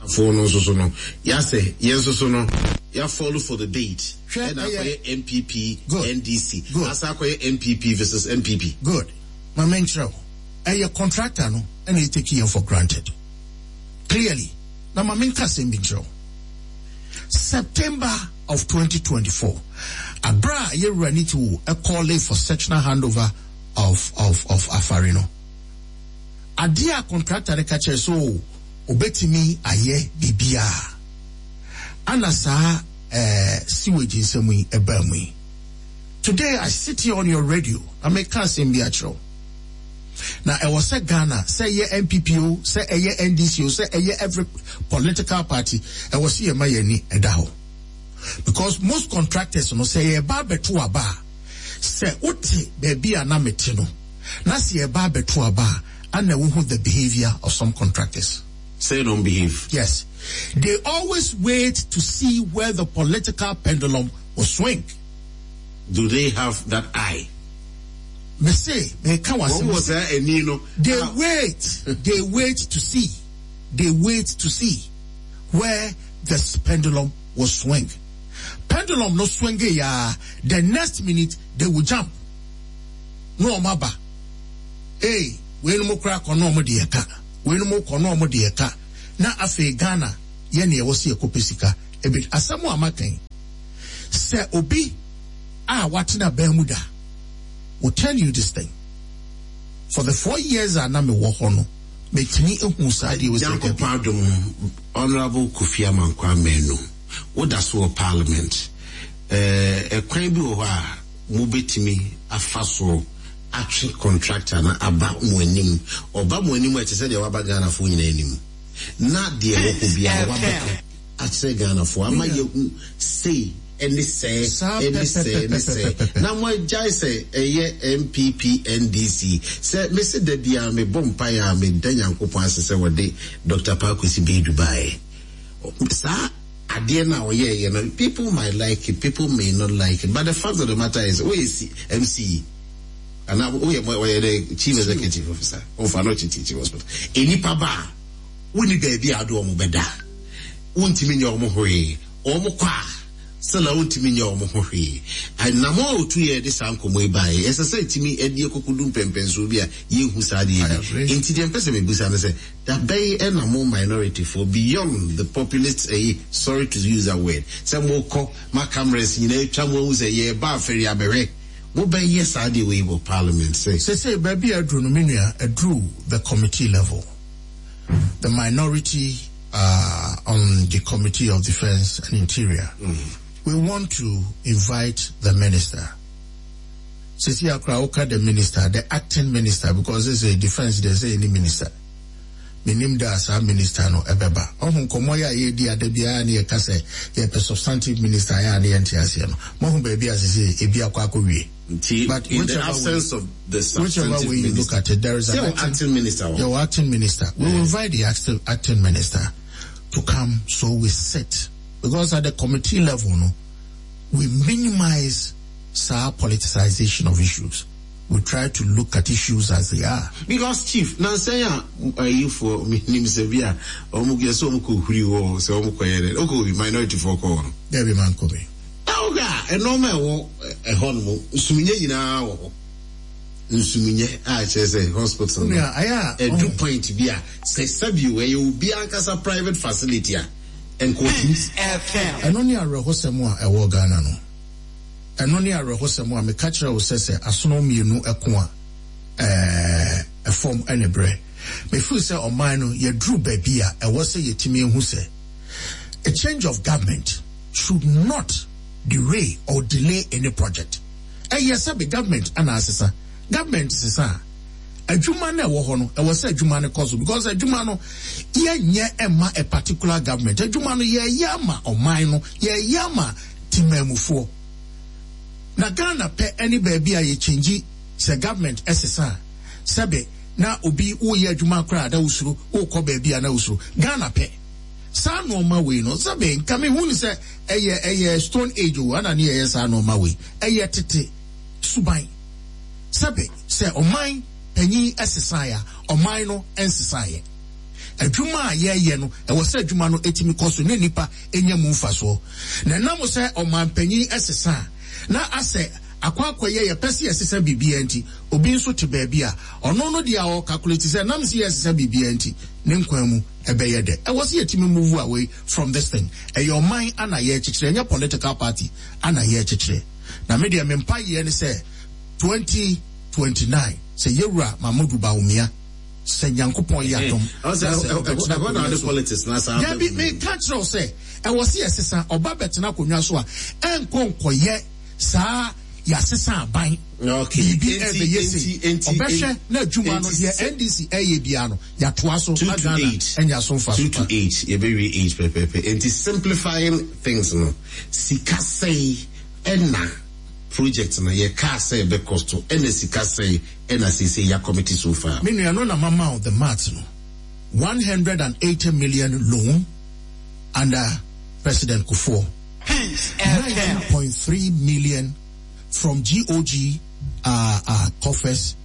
Foɔ no nso so no, yɛasɛ yɛn nso so no, yɛa fall for the bait. Hwɛ, Ɛna ɛyɛ- akɔyɛ NPP, Good. NDC. Good. Asa akɔyɛ NPP versus NPP. Good. Ma menkyerɛ wo. Ɛyɛ contractor no ɛna ɛ take yɛn for granted. Clearly. Na ma menka asɛm bi nkyerɛ wo. September of 2024, abere a yɛwura ne ti wo ɛ call for sectional handover of Afari no. Adeɛ a contractor no ka kyerɛ so obetumi ayɛ biribiara. Ana saa sewage nsɛm yi ɛbaa mu yi. Today I sit here on your radio na meka asɛm bi akyerɛ wo. Na ɛwɔ sɛ Ghana, sɛ ɛyɛ NPP o, sɛ ɛyɛ NDC o, sɛ ɛyɛ every political party, ɛwɔ sɛ yɛma yɛn ani ɛda hɔ. Because most contractors no, sɛ yɛba abɛto aba a, sɛ wote baabi a na mete no, na sɛ yɛba abɛto aba a, ana wohu the behavior of some contractors. Say don't behave. Yes. They always wait to see where the political pendulum will swing. Do they have that eye? Mese, me ka Wɔn wasɛm. wɔ saa ani no. They wait. They wait to see. They wait to see where the pendulum will swing. Pendulum no swing ya. The next minute they will jump. No ɔmo Hey, wei no mo kora kɔ no ɔmo de ɛka. Wei no mo kɔ no ɔmo de ɛka. Na afei Ghana yɛ nea ɛwɔ sɛ yɛkɔpɛ sika. Ebi asɛm a maka yi. Sɛ obi a watena bɛn mu da will tell you this thing. For the 4 years a na mewɔ hɔ no, metumi ehu saa deɛ wɔsi ɛka bi. Nyankopɔn adom, Honorable Kofi Amankwa Manu, woda so wɔ parliament. Ɛkwan bi wɔ hɔ a mobɛtumi afa so atwe contractor no aba mo anim. Ɔba mo anim a, ɛte sɛ deɛ waba Ghanafoɔ nyinaa anim. Na deɛ ɛwɔ hɔ biara wabɛka akyerɛ Ghanafoɔ ama yɛhu sei ɛne sɛɛ Saa ɛne sɛɛ ne sɛɛ pɛpɛpɛpɛpɛpɛ. Na moagyae sɛ ɛyɛ NPP, NDC. Sɛ mese da biara mebɔ mpaeɛ a meda Nyankopɔn ase sɛ wɔde Dr. Paa Kwesi Baidoo baeɛ. Saa adeɛ no a ɔyɛɛyɛ no, people might like it, people may not like it, but the fact of the matter is woyɛ MCE anaa woyɛ ɔyɛ the chief executive officer ɔfa no ɔkye teaching hospital, enipa ba a wonni baabi a ade wɔn bɛda, wontumi nyɛ wɔn hwee, wɔn kɔ a sɛlɛ wontumi nyɛ wɔn ho hwee. Anamɔ a otu yɛ de saa nkɔmɔ yi baeɛ, ɛsɛ sɛ etumi ɛde ekokodu mpɛmpɛnsoɔ bi a yɛnhu saa adeɛ I bi. agree. Nti deɛ mpɛ sɛ mebusa no sɛ dabɛyi ɛna mo minority for beyond the populist ɛyi, sorry to use that word, sɛ mokɔ ma cameras nyinaa atwa mo ahu sɛ yɛreba afɛri abɛhwɛ, mobɛyɛ saa adeɛ wei wɔ parliament sɛ Sese baabi a aduru no, me nua, aduru the committee level. The minority on the Committee of Defence and Interior. We want to invite the minister. Sisi akora woka the minister, the acting minister, because this is a defence, they say any minister. Menim da saa minister no ɛbɛba. Ɔho nkɔmmɔ yɛ a yɛdi ada biara ne yɛka sɛ yɛpɛ substantive minister yɛ a ne yɛnte aseɛ no. Moahu baabi a sese ebi akɔ akɔwie. Nti But in the whichever absence of the whichever substantive way you look minister at it, there is an sɛ acting minister wɔ Yeah, well, acting minister. We will invite the acting minister to come so we sit. Because at the committee level, no, we minimize saa politicization of issues. We try to look at issues as they are. Because chief, nansan a ayifoɔ menim sɛ bi a ɔmo yɛ sɛ ɔmo kɔ huri hɔ sɛ ɔmo kɔ yɛ dɛ ɔkɔ bi minority foɔ kɔ hɔ no. There be man kobe. Na wohwɛ a ɛnɔɔma a ɛwɔ ɛhɔ no mu nsuminyɛ nyinaa wɔ hɔ, nsuminyɛ a kyerɛ sɛ hospital no Nua, ayɛ a, ɛdu point bi a sɛ sɛbio ɛyɛ obi ankasa private facility a nkɔtumi. Ɛno ne awerɛhosɛm a ɛwɔ Ghana no. Ɛno ne awerɛhosɛm a meka kyerɛ wo sɛ asono mmienu ɛko a ɛfam ɛne berɛ. Mefiri sɛ ɔman no yɛduru baabi a ɛwɔ sɛ yɛtumi ehu sɛ a change of government should not derail or delay any project. Ɛyɛ sɛ bi government ana asesa, government sesa a, adwuma no ɛwɔ hɔ no, ɛwɔ sɛ adwuma no kɔ so, because adwuma no yɛnyɛ ɛma a particular government. Adwuma no yɛyɛ ama ɔman no, yɛyɛ ama temamufoɔ. Na Ghana pɛ ɛne baabi a yɛkyɛngyi sɛ government ɛsesa a, sɛbe na obi woyɛ adwuma koraa na wosuro, wokɔ baabi a na wosuro. Ghana pɛ saa nneɛma wei no, sɛbe nka mehu ne sɛ ɛyɛ stone age o, ana ne yɛyɛ saa nneɛma wei, ɛyɛ tete suban. Sɛbe sɛ ɔman panyin ɛsesan a, ɔman no ɛnsesan yɛ. Adwuma a yɛreyɛ no, ɛwɔ sɛ adwuma no tumi kɔ so na nnipa nya mu mfasoɔ. Na ɛnam sɛ ɔmanpanyin sesa a, na asɛ akɔ akɔyɛ yɛpɛ sɛ yɛsesa biribiara nti, obi nso te baabi a, ɔno no deɛ a ɔɔkakuleti sɛ ɛnam sɛ yɛresesa biribiara nti, ne nkwa mu ɛbɛyɛ dɛ. Ɛwɔ sɛ yɛtumi move away from this thing. Ɛyɛ ɔman ana yɛrekyekyere, ɛnyɛ political party ana yɛrekyekyere. Na me deɛ me mpaeɛ ne sɛ 2029 sɛ Yɛwura Mahmodu Bawumia, sɛ Nyankopɔn yɛ adom na sɛ ɔbɛtena akonnwa so. Dabi, meka kyerɛ wo sɛ, ɛwɔ sɛ yɛsesa, ɔba bɛtena akonnwa so a, ɛnkɔ nkɔyɛ saa yɛasesa aban, biribi ɛbɛyɛ sei. Ɔbɛhwɛ na adwuma no, deɛ NDC ɛyɛ biara no, yɛatoa so na Ghana anya so mfaso pa. Two to eight, yɛbɛwie eight pɛpɛɛpɛ. Enti simplifying things no, sika sɛe ɛna project no yɛkaa sɛ ɛbɛ cost ɛna sika sɛe ɛna seesei ya commit so far. Me nua no na mama wo the maths no, 180 million loan under President Kufuor, 19.3 million from GOG uh, uh, coffers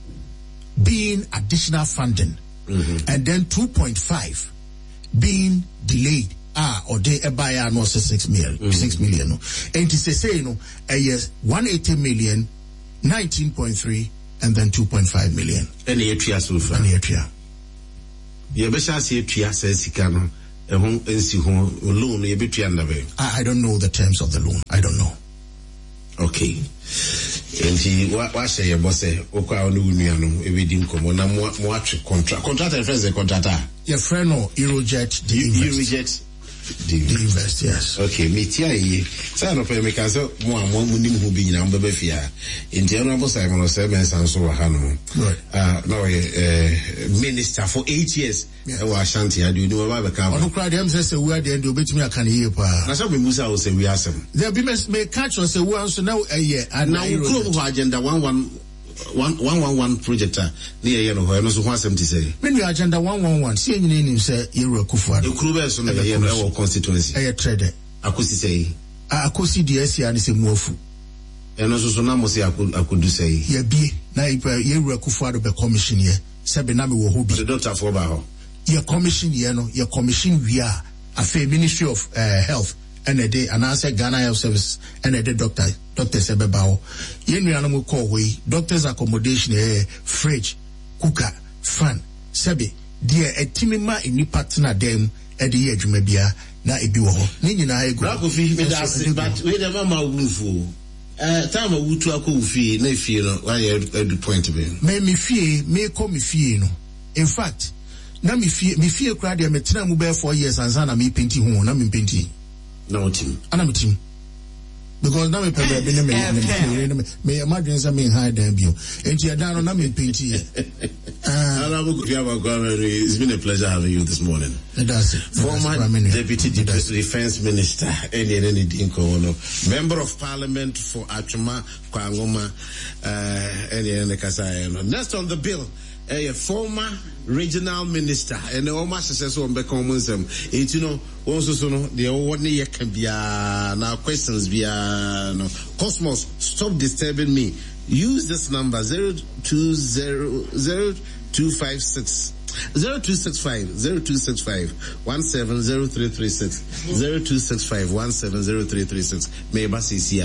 being additional funding, and then 2.5 being delayed a ɔde ɛbaeɛ a na ɔsɛ 6 million, 6 million no. Enti sesei no ɛyɛ 180 million, 19.3 and then 2.5 million. Ɛna yɛatua so far. Ɛna yɛatua. Yɛbɛhyɛ ase atua saa sika no ɛho nsi ho loan no yɛbɛtua nna bɛn? I don't know the terms of the loan. I don't know. Okay. Nti wahyɛ yɛ bɔ sɛ wokɔ a wo ne wo nuanom ɛbɛdi nkɔmmɔ na mo atwe contract. Contractor yɛfrɛ no sɛ contractor? Yɛfrɛ no Eurojet de Invest. Eurojet de Invest, yes. Okay, metia yie. Sɛ anɔpa yi meka sɛ mo a mo nim ho bi nyinaa mobɛba fie ha. Nti Honorable Simon Osei Mensah nso wɔ ha nom. Ah, na ɔyɛ eh, minister for 8 years ɛwɔ Ashanti ha deɛ onim ɔba abɛka aba. Ɔno koraa deɛ ɛm sɛ sɛ wua deɛ deɛ obetumi aka no yie paa. Na sɛ memusa wo sɛ wia asɛm. Dabi meka kyerɛ sɛ wua nso na ɛyɛ. Na wo kurom hɔ Agenda one one one one one one project a ne yɛyɛ no hɔ, ɛno nso ho asɛm te sɛ? Me nua, Agenda 111, sɛ yɛn nyinaa nim sɛ Yɛwura Akufo Addo. Ekuro bɛn so na yɛyɛ no ɛwɔ constituency? Ɛyɛ Trɛdɛ. Akosi sɛn? Akosi deɛ asi ara ne sɛ mu afu. Ɛno nso so na mo se akodu sɛn? Yɛabie na Yɛwura Akufo Addo bɛ commission yɛ, sɛbe na mewɔ hɔ bi. Ɔde dɔktafoɔ baa hɔ? Yɛ commission yɛ no, yɛ commission wie a, afei Ministry of Health ɛna ɛde anaasɛ Ghana Health Service ɛna ɛde doctor doctors ɛbɛba hɔ. Yɛn nuanom kɔɔ hɔ yi, doctors accommodation ɛyɛ fridge, cooker, fan, sɛbe deɛ ɛtumi ma nnipa tena dan mu ɛde yɛ adwuma biara na ebi wɔ hɔ. Ne nyinaa egu hɔ. Bra Kofi, meda ase, but wei deɛ mama wo bo mfu o. Eh, time a wotu akɔ wo fie na efie no wayɛ adu point bɛn? Me me fie, mekɔ me fie no, in fact, na me fie, me fie koraa deɛ metenaa mu bɛyɛ 4 years ansa na mepenti ho, na mempenti. Na wotim? Ana metim. Because na mepɛ baabi ne me ne me yere ne me meyɛ m'adwene sɛ menhan dan bio. Enti ɛdan no na mempenti yɛ. Honorable Kofi Amankwa, it's been a pleasure having you this morning. Meda ase. Former Deputy Defense Minister, ɛne ɛne ne di nkɔmmɔ no, Member of Parliament for Atwima Kwanwoma, ɛne ɛne ne kasaeɛ no. Next on the bill, ɛyɛ former regional minister, ɛnɛ wɔn ahyehyɛ sɛ wɔn bɛka wɔn nsɛm. Enti no, wɔn nso so no, deɛ wɔwɔ ne yɛ ka biara na questions biara no, Cosmos, stop disturbing me. Use this number 020 0256 0265 0265 170336 0265 170336. Meba seesei.